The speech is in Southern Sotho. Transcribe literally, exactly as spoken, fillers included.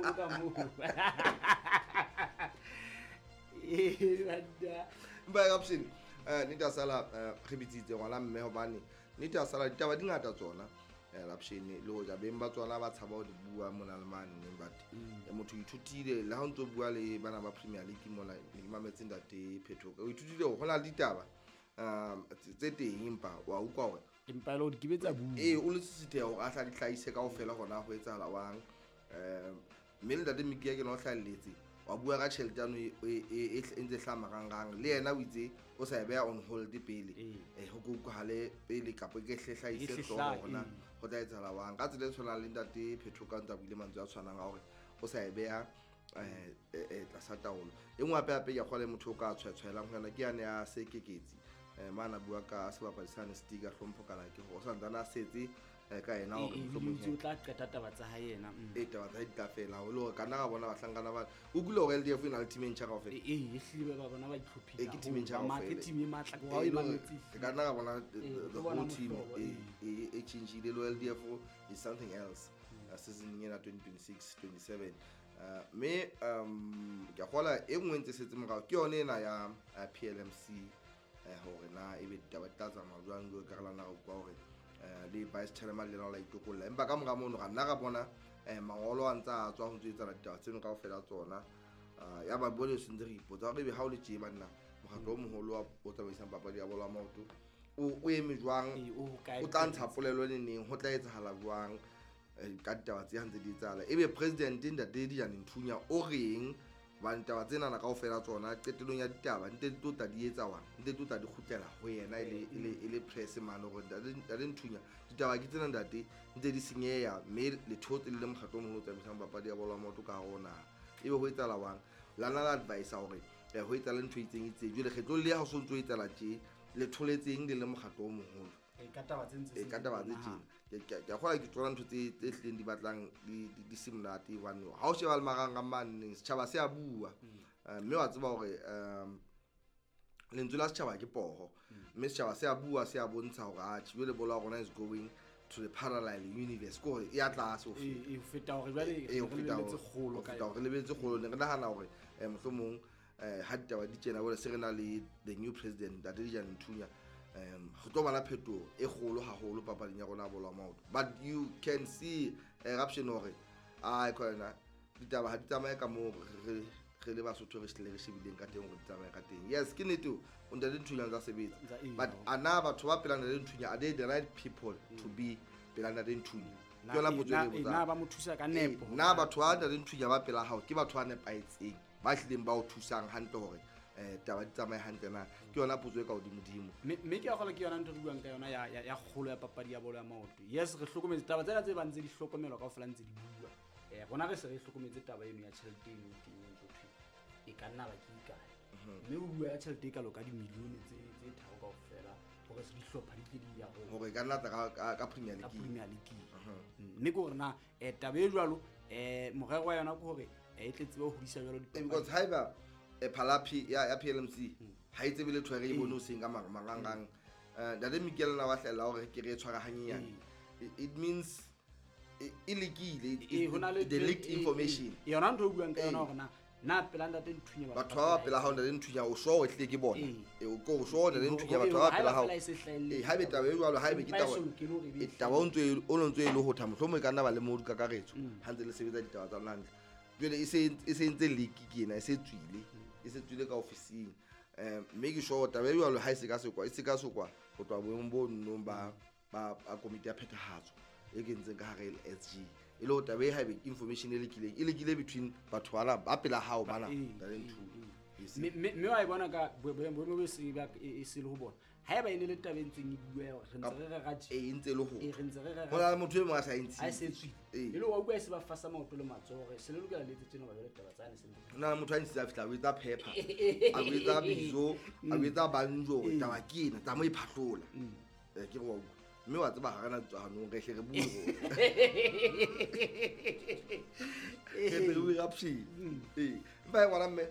mono ka moo. Eh banna. Mpa option eh nita sala re bitsitse ngwana mme hobane nita sala ditaba di ngata tsona. Eh option le hoja beng ba tsona ba tshaba ho di bua mona le mane but motho ithutile le ha o ntso bua le bana ba Premier League mona le mametse ntate Phetho o ithutile ho na le ditaba um tse teng empa wa utlwa hore empa le o di kibetsa bua eh o le sisithe hore a tla di hlahise kaofela hona ho etsahala wang eh mme le ntate Mikia ke no hlahelletse wa bua ka tjhelete ano e e ntse hlama rangrang le yena o itse o sa e beha on hold pele eh ho utlwahale pele kapa ke hle hlahise hlooho hona ho tla etsahala wang ka tsela e tshwanang le ntate Phetho ka ntse a buile mantswe a tshwanang a hore o sa e beha eh eh tlasa taolo e nngwe hape hape ke a kgolwa le motho o ka tshwetshwelang ho yona ke yane ya Sekeketsi eh mana bua ka sebapadi sa Stiga hlompho kana ke hore o santsane a setse ka yena hore mohlomong o tla qeta taba tsa hae yena e taba tsa di tla fela ho le hore kana ga bona bahlankana ba o kule hore L D F e na le team e ntjha kaofela e e ehlile ba bona ba itlhophile e ke team e ntjha kaofela ke team e matla ke ha e mametse ke kana ga bona the whole team e e change-ile le L D F is something else season ena twenty twenty-six twenty-seven me um ke a kgola e nngwe ntse setse morao ke yone ena ya P L M C hore na ebe ditaba di tla tsamaya jwang jwalo ka re lana re utlwa hore le vice chairman le lona la itokolla empa ka mora mono ra nna ra bona mangolo a ntse a tswa ho ntse etsahala ditaba tseno kaofela tsona ya ba bone se ntse re ipotsa hore ebe ha o le tje banna mokgatlo o moholo o tsamaisang papadi ya bolo ya maoto o eme jwang o tla ntsha polelo ne neng ho tla etsahala jwang ka ditaba tse ntse di etsahala ebe president ntate Dijane Nthunya o reng hobane taba tsena na kaofela tsona qetellong ya ditaba nte di tlo di etsa wang nte di tlo di kgutlela ho yena e le e le press man hore ntate Nthunya ditaba ke tsena ntate ntse di senyeha mme le thotse le mokgatlo o moholo o tsamaisang papadi ya bolo ya maoto ka hare ho naha ebe ho etsahala wang lana la advice hore ho etsahala ntho e itseng itseng jwale kgetlong le ha ho so ntso etsahala tje le tholetseng le le mokgatlo o moholo e ka taba tse ntse e ka taba tse tjena ke a kgola ke tsona ntho tse tse hlileng di batlang di di se monate hobane ha o sheba le marangrang mane setjhaba se a bua mme wa tseba hore um lentswe la setjhaba ke poho mme setjhaba se a bua se a bontsha hore atjhe jwale bolo ya rona is going to the parallel universe ko hore e ya tlase ho feta e feta hore jwale re lebeletse kgolo ka hore re lebeletse kgolo ne re nahana hore mohlomong ha ditaba di tjena jwale se re na le the new president ntate Dijane Nthunya um go tlo bana phetoho e kgolo haholo papading ya rona ya bolo ya maoto but you can see eruption hore ai khona ditaba ha di tsamaye ka moo re re le Basotho re hlile re shebileng ka teng hore di tsamaye ka teng yes ke nnete o ntate Nthunya ntsa sebetsa but ana batho ba pela ntate Nthunya are they the right people to be pela ntate Nthunya ke yona potso e re botsang na ba mo thusa ka nepo na batho ba ntate Nthunya ba pela hao ke batho ba nepahetseng ba hlileng ba o thusang hantle hore eh taba di tsamaye hantle na ke yona potso e ka hodimodimo mme ke a kgola ke yona ntho re buang ka yona ya ya kgolo ya papadi ya bolo ya maoto yes re hlokometse taba tsena tse bang tse di hlokomelwa kaofela ntse di bua eh rona re se re hlokometse taba eno ya tjhelete eno teng ntho thwe e ka nna ba ke ikae mme o bua ya tjhelete e kalo ka dimilione tse tse tharo kaofela hore se dihlopha di tle di ya hore e ka nna tla ka Premier League ka Premier League mme ke hore na eh taba e jwalo eh morero wa yona ke hore e tle tsebe ho hodisa jwalo dipapadi because haeba e phalapi ya ya P L M C ha itse bile tshwere e bone o seng ka marangrang eh ntate Mikel na wa hlela hore ke re tshwara hanyenyane it means e lekile the leaked information yona ntho o buang ka yona hore na na pela ntate Nthunya batho ba pela hao ntate Nthunya o sure hle ke bona e o ko sure ntate Nthunya batho ba pela hao e haebe taba e jwalo haebe ke taba e taba o ntse o ntse e le ho tha mohlomong e ka nna ba le modu kakaretso ha ntse le sebetsa ditaba tsa lona hantle jwale e se e se ntse leak ke ena e se tswile e se tswile ka ofising eh mme ke sure taba e jwalo ha e se ka sekwa e se ka sekwa ho tloha boemong bo nnong ba ba komiti ya phethahatso e kentseng ka hare L S G e le ho taba e haebe information e lekileng e lekile between batho bana ba pela hao bana ntate Nthunya mme mme wa e bona ka boemo bo se ba e se le ho bona haeba e ne le taba e ntseng e bua re ntse re re ratje e ntse le ho e re ntse re re ho na le motho e mong a sa e ntshitse a se tswile e le wa utlwa e se ba fasa maoto le matsoho hore se le lokela le etse tjena ba jwale taba tsane se ho na le motho a ntshitse a fihla o etsa pepper a o etsa bizo a o etsa banjo hore taba ke ena tsa mo e phahlola eh ke re wa utlwa mme wa tseba ha re na tswa hanong re hle re bue re tle re bue eruption ee empa e ngwana mme